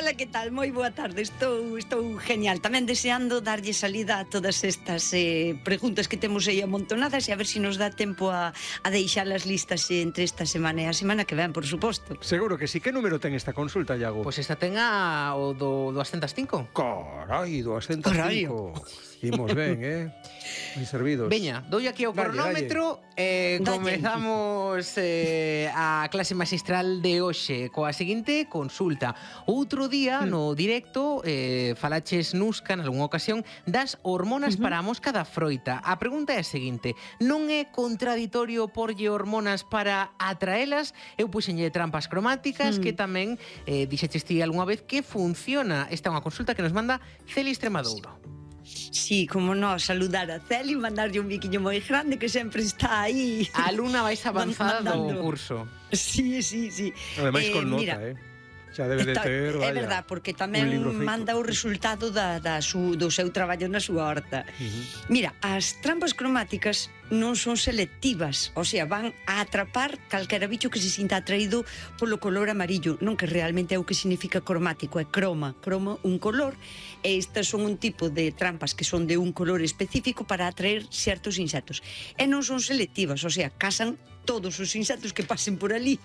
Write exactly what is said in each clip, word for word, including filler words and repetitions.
Hola, que tal? Moi boa tarde, estou, estou genial. Tamén deseando darlle salida a todas estas eh, preguntas que temos aí amontonadas e a ver se si nos dá tempo a, a deixalas listas entre esta semana e a semana que ven, por suposto. Seguro que sí. Que número ten esta consulta, Iago? Pois esta ten a o do doscientos cinco. Carai, doscientos cinco. Imos ben, eh? Moi servidos. Veña, doi aquí ao Dalle, cronómetro e eh, comezamos eh, a clase magistral de hoxe coa seguinte consulta. Outro día no directo eh, falaches Nusca nalgúna ocasión das hormonas uh-huh. para a mosca da froita. A pregunta é a seguinte: non é contraditorio porlle hormonas para atraelas? Eu puxenlle trampas cromáticas uh-huh. que tamén eh, dixeches ti algunha vez que funciona. Esta é unha consulta que nos manda Celi Extremadouro. Sí, como no, saludar a Celi, mandarlle un biquiño moi grande que sempre está aí. A alumna máis avanzada do curso. Sí, sí, sí. Ademais eh, con nota, mira, eh. Xa debe de ter, vaya, é verdad, porque tamén manda o resultado da, da su, do seu traballo na súa horta. Uh-huh. Mira, as trampas cromáticas non son selectivas, o sea, van a atrapar calquera bicho que se sinta atraído polo color amarillo, non que realmente é o que significa cromático, é croma, croma un color, e estas son un tipo de trampas que son de un color específico para atraer certos insectos. E non son selectivas, o sea, casan todos os insectos que pasen por ali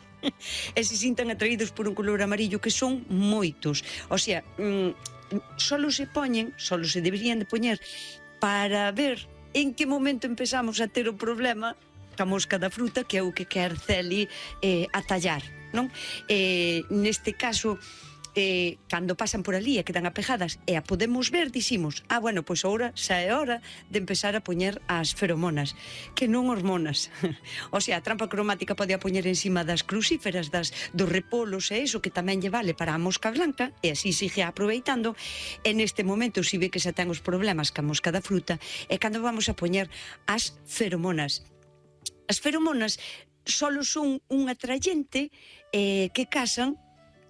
e se sintan atraídos por un color amarillo, que son moitos. O sea, mmm, solo se poñen, solo se deberían de poñer para ver en que momento empezamos a ter o problema ca mosca da fruta, que é o que quer Celi eh, atallar, non? Eh, neste caso, eh, cando pasan por ali e quedan apegadas e a podemos ver, dicimos, ah, bueno, pois agora xa é hora de empezar a poñer as feromonas, que non hormonas. O sea, a trampa cromática pode a poñer encima das crucíferas, das, dos repolos e iso, que tamén lle vale para a mosca blanca, e así sigue aproveitando. E neste momento, si ve que xa ten os problemas ca mosca da fruta, é cando vamos a poñer as feromonas. As feromonas solo son un atrayente eh, que casan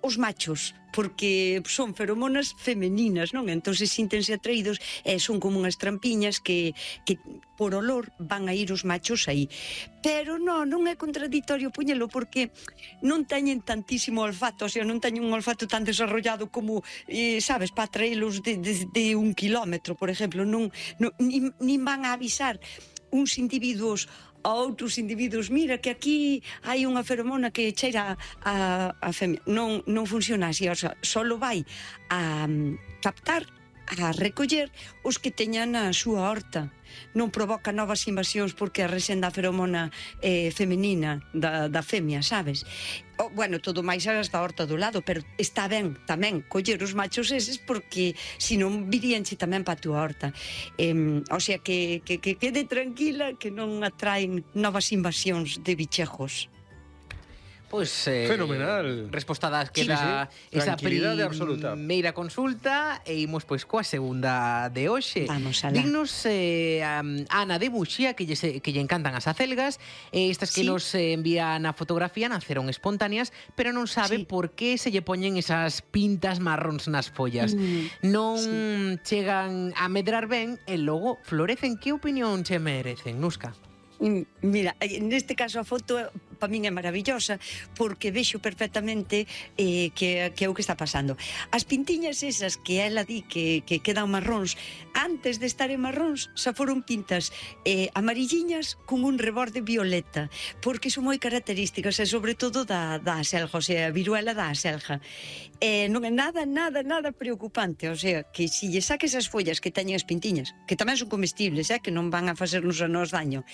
os machos, porque son feromonas femeninas, non? Entón se síntense atraídos e son como unhas trampiñas que, que por olor van a ir os machos aí. Pero non, non é contradictorio poñelo, porque non teñen tantísimo olfato, o sea, non teñen un olfato tan desarrollado como, eh, sabes, para atraelos de, de, de un kilómetro, por exemplo. Non, non, nin, nin van a avisar uns individuos a outros individuos, mira que aquí hai unha feromona que cheira a, a femia. Non, non funciona así, o sea, solo vai a um, captar, a recoller os que teñan a súa horta. Non provoca novas invasións porque resenda a feromona eh, femenina da, da femia, sabes? O, bueno, todo máis as da horta do lado, pero está ben tamén coller os machos eses, porque senón viríanche tamén pa túa horta. Eh, o sea, que, que, que quede tranquila, que non atraen novas invasións de bichejos. Pois, eh, fenomenal. Respostada queda sí, sí. esa primeira consulta e imos pois coa segunda de hoxe. Vamos alá. Dignos eh, a Ana de Muxía, que lle, que lle encantan as acelgas, e estas que sí. nos envían a fotografía naceron espontáneas, pero non sabe sí. por que se lle poñen esas pintas marróns nas follas. Mm, non sí. chegan a medrar ben e logo florecen. Que opinión che merecen, Nusca? Mira, neste caso a foto para min é maravillosa, porque vexo perfectamente eh, que, que é o que está pasando. As pintiñas esas que ela di que, que quedan marróns, antes de estar en marróns xa foron pintas eh, amarilliñas con un reborde violeta, porque son moi características, e sobre todo da, da aselga, o sea, a viruela da aselga. Eh, non é nada, nada, nada preocupante, o sea, que se lle saques as follas que teñen as pintiñas, que tamén son comestibles, eh, que non van a facernos a nós daño,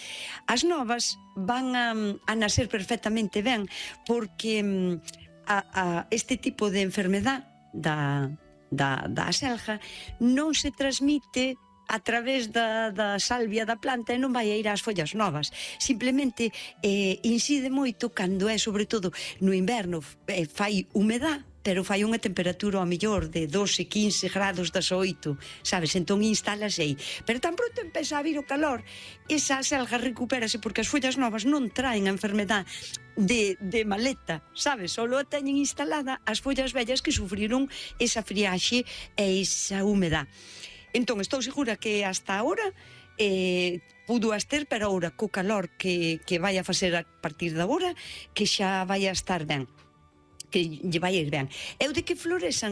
as novas van a, a nacer perfectamente ben, porque a, a este tipo de enfermedad da, da, da aselga non se transmite a través da, da salvia da planta e non vai a ir ás follas novas. Simplemente eh, incide moito cando é, sobre todo no inverno, eh, fai humedad, pero fai unha temperatura ao mellor de doce, quince grados das oito, sabes? Entón instálase aí. Pero tan pronto empeza a vir o calor, esa aselga recupérase, porque as follas novas non traen a enfermedad de, de maleta, sabes? Solo a teñen instalada as follas vellas que sufriron esa friaxe e esa humedad. Entón, estou segura que hasta ahora eh, pudo as ter, pero agora co calor que, que vai a facer a partir da hora, que xa vai a estar ben, que lle vai a ir ben. Eu de que florezan